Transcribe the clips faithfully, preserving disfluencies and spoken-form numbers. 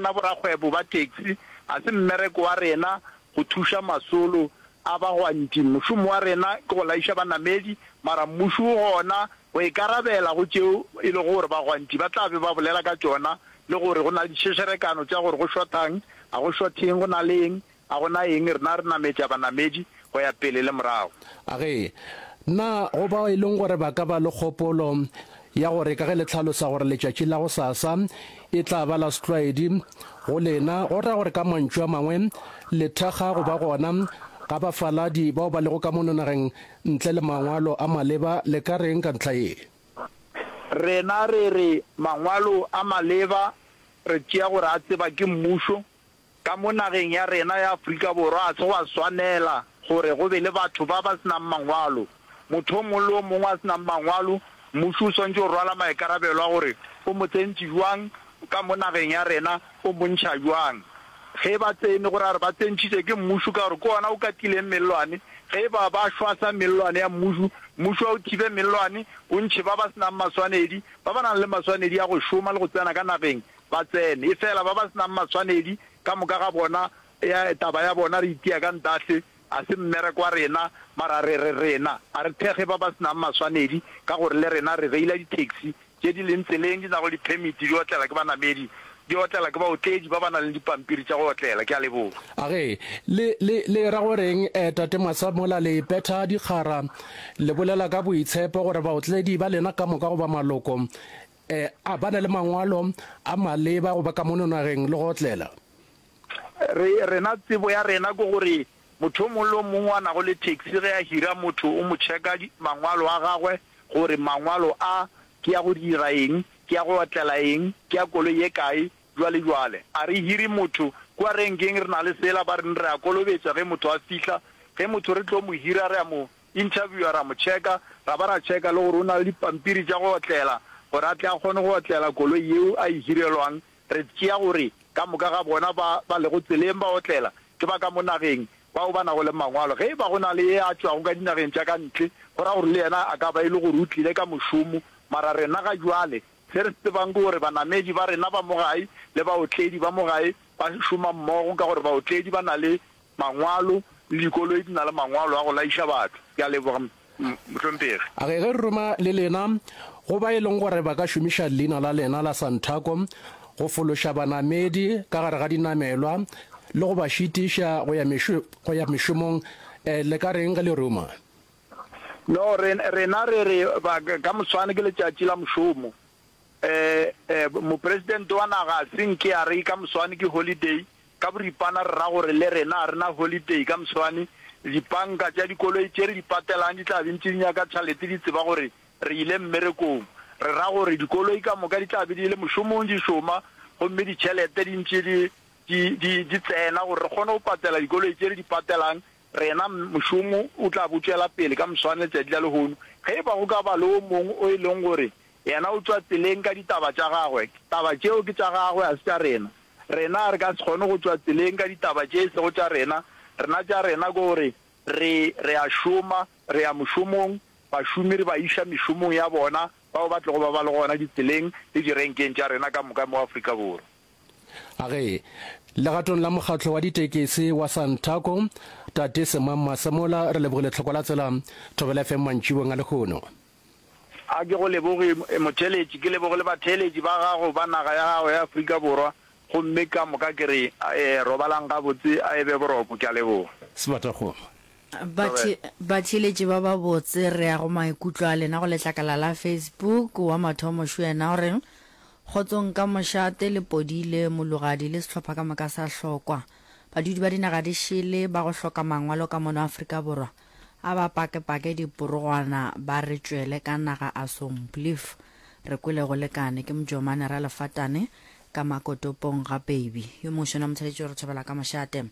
rena borakgwebo ba taxi a se mmereko wa rena go thuša masolo a bagwanti. Mošomo wa rena ke go laiša banamedi, mara mmušo o gona go ikarabela go tšeo e lego gore bagwanti ba tla be ba bolela ka tšona, le gore go na le ditšhešerekano tša gore go šothang, a go šotheng, go na le eng, a go na eng, rena re nametša banamedi go ya pele le morago. A ge, na go bao e leng gore ba ka ba le kgopolo ya gore ka ge le hlalosa gore letšatši la gosasa e tla ba la setlwaedi go lena, go ra gore ka mantšu a mangwe le thekga go ba gona ga bafaladi bao ba lego ka mono nageng ntle le mangwalo a maleba, le ka reng ka ntlha ye? Rena re re mangwalo a maleba re tšea gore a tseba ke mmušo. Ka mo nageng ya rena ya Afrika Borwa a se gwa swanela gore go be le batho ba ba se nang mangwalo. Motho o mongwe le o mongwe a se nang mangwalo, mmušo o swanetše go rwala maikarabelo a gore o mo tsentše bjang ka mo nageng ya rena, o mo ntšha bjang. Ge ba tsene, go ra gore ba tsentšhitše ke mmušo ka gore ke ona o katileng mellwane. Ge e ba ba šwahla mellwane ya mmušo, mmušo a o thibe mellwane, o ntšhe ba ba se nang maswanedi, ba ba nang le maswanedi a go šoma le go tsena ka nageng ba tsene. Efela ba ba se nang maswanedi ka moka ga bona, ya taba ya bona re itia ka ntahle, a se mmereko wa rena, mara re re rena a re thekge ba ba se nang maswanedi ka gore le rena re reila di-taxi tše di leng tseleng di nago le di-permit di otlela ke banamedi, di otlela ke baotledi ba ba nang le dipampiri tša go otlela. Ke a leboga. A ge, le, le, le ra go reng, eh, Tate Masemola, le ipetha dikgara, le bolela ka boitshepo gore baotledi ba lena ka moka goba maloko, eh, a ba na le mangwalo a maleba go ba ka mono nageng le go otlela? Re, rena tsebo ya rena ke gore motho o mongwe le o mongwe a nago le taxi ge a hira motho o mo checka mangwalo a gagwe gore mangwalo a ke ya go dira eng, ke ya go otlela eng, ke ya koloi ye kae, jwale jwale. A re hire motho kua renkeng, re na le sela ba reng re a kolobetša ge motho a fihla. Ge motho re tlo mo hira re a mo interviewa, ra mo checka, ra ba ra checka le gore o na le dipampiri tša go otlela gore a tle a kgone go otlela koloi yeo a e hirelwang. Re tšea gore ka moka ga bona ba ba lego tseleng ba otlela ke ba ka mo nageng bao ba nago le mangwalo. Ge e ba go na le ye a tšwago ka dinageng tša ka ntle, go ra gore le yena a ka ba e le gore o tlile ka mošomo. Mara rena ga jwale se re se tsebang ke gore banamedi ba rena ba mo gae le baotledi ba mo gae ba šoma mmogo, ka gore baotledi ba na le mangwalo le dikoloi di na le mangwalo a go laiša batho. Ke a leboga, mohlomphegi. A ge ge re roma le lena go ba e leng gore ba ka šomiša leina la lena la santhako go fološa banamedi ka gare ga dinamelwa le go ba šitiša go ya mešo, go ya mešomong, eh, le ka reng ge le roma? No, re, rena re re ba, ka moswane ke letšatši la mošomo. Eh, eh, mopresidente wa naga a se nke a re ka moswane ke holiday, ka boripana re ra gore le rena a rena holiday ka moswane. Dipanka tša dikoloi tše re di patelang di tla be ntše di nyaka tšhalete, di tseba gore re ile mmerekong. Re ra gore dikoloi ka moka di tla be di le mošomong di šoma, gomme ditšhelete di ntše di, di, di, di tsena gore re kgone go patela dikoloi tše re di patelang. Rena mošomo o tla bo tšwela pele ka moswane letšatši la lehono. Ge e ba go ka ba le o mongwe o e leng gore yena o tšwa tseleng ka ditaba tša gagwe, taba tšeo ke tša gagwe, a se tša rena. Rena re ka se kgone go tšwa tseleng ka ditaba tše e sego tša rena. Rena tša rena ke gore re, re a šoma, re ya mošomong, bašomi re ba iša mešomong ya bona, bao ba tlogo ba ba le gona ditseleng le direnkeng tša rena ka moka mo Afrika Borwa. A ge, legatong la mokgatlo wa ditekesi wa Santaco, Tate Semang Masemola, re lebogile tlhoko la tsela Thobela F M mantšibong a lehono. A ke go leboge motheeletši, ke leboge le batheeletši ba gago ba naga ya gago ya Afrika Borwa, gomme ka moka ke re, eh, robalang gabotse, a e be boroko, ke a leboga. Sebatakgomo. Bathe, batheeletši ba babotse, re ya go maikutlo a lena go letlakala la Facebook. Wa mathomo šo yena o re, kgotsong ka mošate le podile mologadi le sehlopha ka moka sa hlokwa. Badudi ba dinaga di šele ba go hloka mangwalo ka mono Afrika Borwa a ba pakepake diporogwana ba re tšwele ka naga a somplief. Re kwele go lekane ke Mojomane ra lefatane ka makotopong ga baby. Yo mongwe šona motheletši o re thobela ka mošate.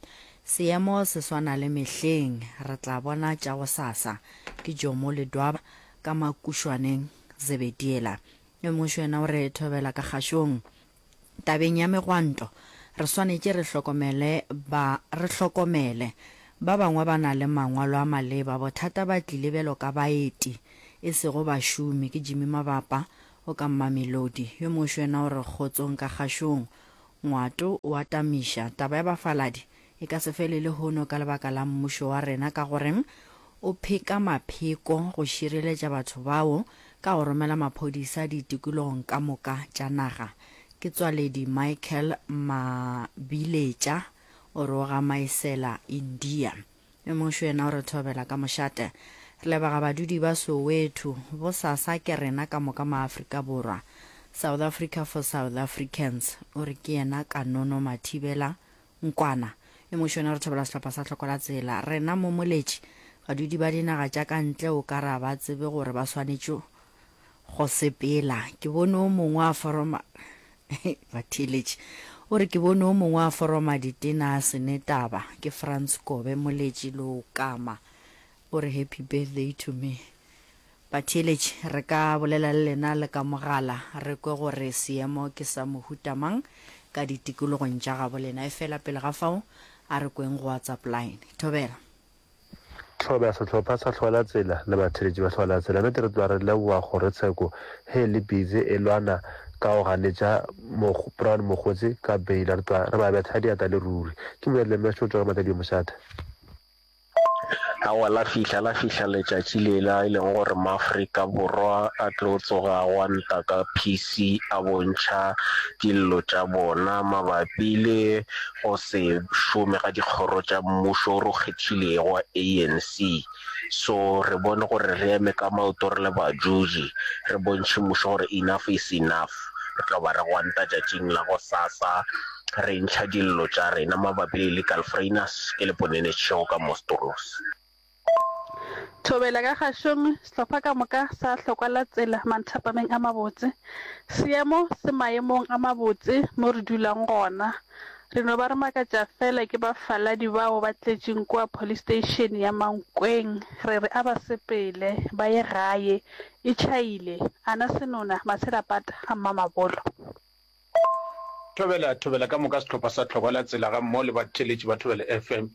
Seemo se swana le mehleng, re tla bona tša go sasa. Ke Jomo Ledwaba ka makušwaneng Zebediela. Yo mongwe šona o re thobela ka kgašong. Tabeng ya megwanto, re swanetše re hlokomele ba re hlokomele. Ba bangwe ba na le mangwalo a maleba, bothata ba tlile bjalo ka baeti, e sego bašomi. Ke Jimmy Mabapa o ka Mamelodi. Yo mongwe šona o re kgotsong ka kgašong. Ngwato o a tamiša. Taba ya bafaladi e ka se fele lehono ka lebaka la mmušo wa rena ka gore o pheka mapheko go šireletša batho bao ka go romela maphodisa ditikologong ka moka tša naga. Ke Tswaledi Michael Mabiletša o re o ga Maesela, India. Yo mongwe šo yena o re thobela ka mošate. Re leboga badudi ba Soweto. Bosasa ke rena ka moka maAfrika Borwa. South Africa for South Africans. O re ke yena Kanono Mathibela Nkwana. Yo mongwe šo yena o re thobela sehlopha sa Hloko la Tsela. Rena mo Moletši, badudi ba dinaga tša ka ntle o ka re a ba tsebe gore ba swanetše go sepela. Ke bone o mongwe a foroma batheeletši. O re ke bone o mongwe a foroma ditena a se ne taba. Ke Frans Kobe Moletši Leokama. O re happy birthday to me. Batheeletši, re ka bolela le lena le ka mogala re kwe gore seemo ke sa mohuta mang ka ditikologong tša gabo lena. Efela pele ga fao, a re kweng go WhatsApp line. Thobela. Thobela sehlopha sa Hlola Tsela le batheeletši ba Hlola Tsela. Nnete re tloga re leboga kgorotsheko ge e le busy e lwana ka go ganetša Brown Mogotsi ka beila. Re tloga re ba betha diatla le ruri. Ke Mojadi Lemesho o tšwa ka Matadi Mošate. Aowa, la fihla, la fihla letšatši lela e lego gore Maafrika Borwa a tlo tsoga a gwanta ka P C a bontšha dillo tša bona mabapi le go se šome ga dikgoro tša mmušo o re o kgethilego wa A N C. So re bone gore re eme ka maoto re le bajuji, re bontšhe mmušo gore enough is enough. Re tlo ba re gwanta tšatšing la gosasa re ntšha dillo tša rena mabapi le illegal foreigners. Ke le Ponene Tšhego ka Mostornos. Thobela ka kgašong, sehlopha ka moka sa Hlokwa la Tsela manthapameng a mabotse. Seemo se maemong a mabotse mo re dulang gona. Re no ba re makatša fela ke bafaladi bao ba tletšeng kua police station ya Mankweng. Re re a ba sepele ba ye gae. E tšhaile. Ana Senona, Matshelapata ga Mmamabolo. Thobela, thobela ka moka sehlopha sa Hlokwa la Tsela ga mmogo le batheeletši ba Thobela F M.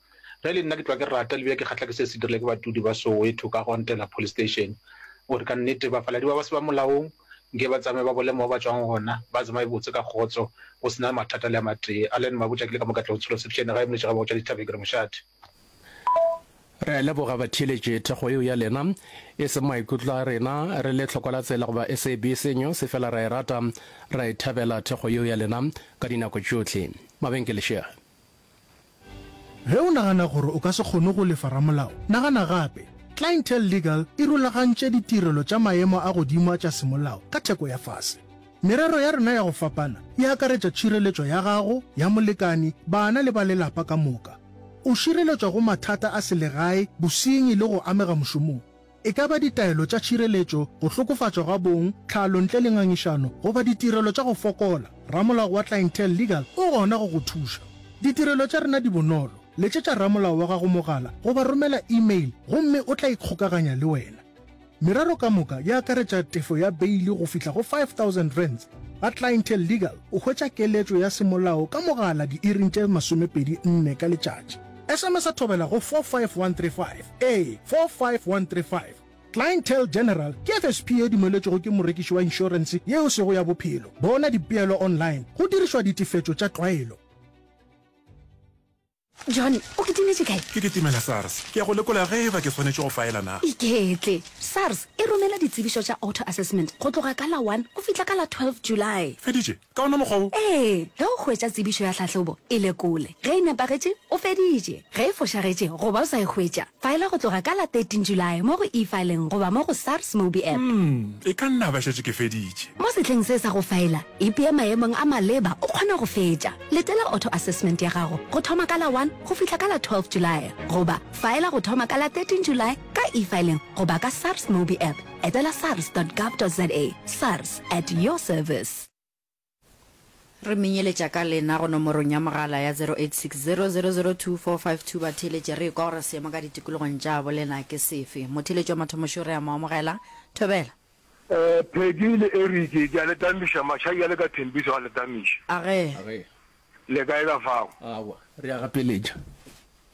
Ge e le nna ke tloga ke rata le bile ke kgahla ke se se dirile ke badudi ba Soweto ka go ntela police station gore ka nnete bafaladi ba ba se ba molaong nke ba tsamaye ba bole mo ba tšwang gona ba tsamaye botse ka kgotso go se na mathata le a matee. Allen Mabotja ke le ka mo Katlehong Tsholo Sepšene gae Moletši ga Bogotša Dithabeng ke re mošate. Re a leboga batheeletši thekgo yeo ya lena, e seng maikutlo a rena re le Hlokwa la Tsela goba S A B C News, efela re a e rata, re a e thabela thekgo yeo ya lena ka dinako tšohle. Mabenkele šea. Ge o nagana gore o ka se kgone go lefa ramolao, nagana gape. Clientele Legal e rulagantše ditirelo tša maemo a godimo a tša semolao ka theko ya fase. Merero ya rena ya go fapana e akaretša tšhireletšo ya gago, ya molekani, bana le ba lelapa ka moka. O šireletšwa go mathata a selegae, bosenyi le go amega mošomong. E ka ba ditaelo tša tšhireletšo, go hlokofatšwa ga bong, tlhalo ntle le ngangišano goba ditirelo tša go fokola, ramolao wa Clientele Legal o gona go go thuša. Ditirelo tša rena di bonolo, letšetša ramolao wa gago mogala goba romela email gomme o tla ikgokaganya le wena. Merero ka moka e akaretša tefo ya beili go fihla go five thousand rands. Ga Clientele Legal o hwetša keletšo ya semolao ka mogala diiring tše masomepedi nne ka letšatši. S M S a thobela go four five one three five, ee, four five one three five. Clientele General ke F S P ye dumeletšwego ke morekiši wa inšorense yeo sego ya bophelo. Bona dipeelo online go dirišwa ditefetšo tša tlwaelo. John, o kitimetše kae? Ke kitimela SARS. Ke ya go lekola ge e ba ke swanetše go faela na. Iketle. SARS e romela ditsebišo tša auto-assessment go tloga ka la one go fihla ka la twelve July. Feditše? Ka ona mokgwa wo? Ee. Ge o hwetša tsebišo ya tlhahlobo, e lekole. Ge e nepagetše, o feditše. Ge e fošagetše goba o sa e hwetša, faela go tloga ka la thirteen July mo go eFiling goba mo go SARS Mobi App. Hmm, e ka nna ba šetše ke feditše. Mo sehleng se sa go faela, ipee maemong a maleba o kgone go fetša. Letela auto-assessment ya gago go thoma ka la one go fihla ka la twelve July goba faela go thoma ka la thirteen July ka eFiling goba ka SARS Mobi App. Etela sars dot gov dot za. SARS, at your service. Re menyeletša ka lena go nomorong ya mogala ya zero eight six zero zero zero two four five two batheeletše re ekwa gore seemo ka ditikologong tša bolena ke sefe. Motheeletši wa mathomošo re a mo amogela. Thobela. Eh, Peggy le Eric, ke a le tamiša, Mashai a le ka Thembiso a le tamiša. Age. Le kae ka fao? Aowa, re a gapeletša.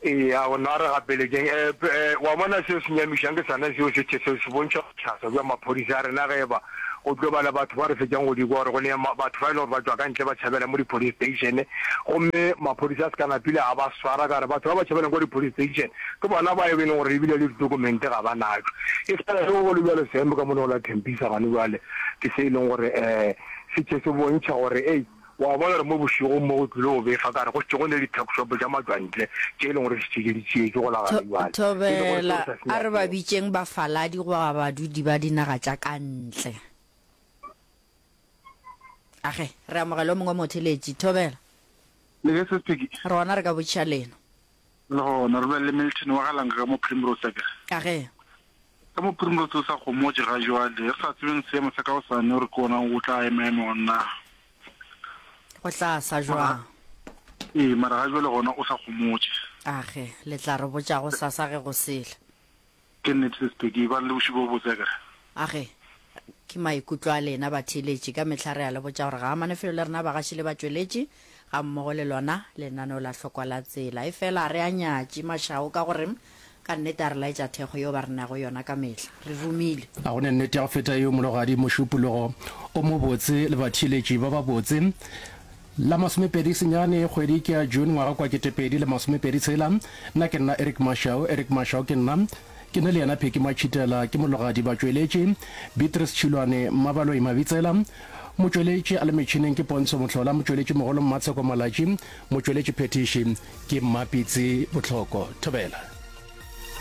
Eya, gona re gapeletšeng. E, e, wa bona seo se nyamišang ke sona seo se, se, se bontšha bohlaswa bja maphodisa a rena ge eba go tlo ba le batho ba re fetšang go di kwa gore go ne ma, batho ba e leng gore ba tšwa ka ntle ba tšhabela mo di-police station gomme maphodisa a se ka napile a ba swara ka gore batho ba ba tšhabelang kwa di-police station ke bona ba e leng gore ebile le ditokumente ga ba natšo. E fela ge go le bjalo seemo ka mono go la Tembisa gane bjale ke se e leng gore um se tše se bontšha gore ei Wa bona gore mo bošegong mo go tlile go befa ka re go šetše go ne le di-tuck-shop tša matšwantle tše e leng gore di šetše di tšeetšwe go la gare bjale. E le gore seo Thobela, sa se a re ba nyakego. bitšeng bafaladi goba badudi ba dinaga tša ka ntle. Age, re amogele o mongwe motheeletši. Thobela. Le ge Sis Peggy? Re gona re ka botšiša lena. Le gona, re bolela le Milton wa ga Langa ka mo Primrose akere? Age. Ka mo Primrose o sa gomotše ga jwale, re sa tsebeng seemo sa ka gosane gore ke ona o tla emaema na. Go tla sa jwang? Ee, mara ga jwale gona o sa gomotše. Age, le tla re botša gosasa ge go sele. Ke nnete Sis Peggy, ebang le bošego bo bobotse akere? Age, ke maikutlo a lena batheeletši. Ka mehla re a le botša gore ga amane felo le rena bagaši le batšweletši gammogo le lona lenaneo la Hlokwa la Tsela. Efela ga re a nyatše mašao ka gore ka nnete a re laetša thekgo yeo ba re nago yona ka mehla. Re romile. A go ne nnete ya go feta yeo Mologadi Mošupologo o mobotse le batheeletši ba babotse. La masomepedi senyane kgwedi ke ya June ngwaga kwa ketepedi le masomepedi tshela. Nna ke nna Eric Mashau, Eric Mashau ke nna. Ke ne le yena Pheki Matšhitela, ke Mologadi Batšweletši, Beatrice Tšhilwane, Mmabaloi Mabitsela, Motšweletši a le metšhineng ke Pontsho Mohlola, Motšweletši mogolo Mmatsheko Malatši, Motšweletši phethiši ke Mmapitsi Bohloko. Thobela.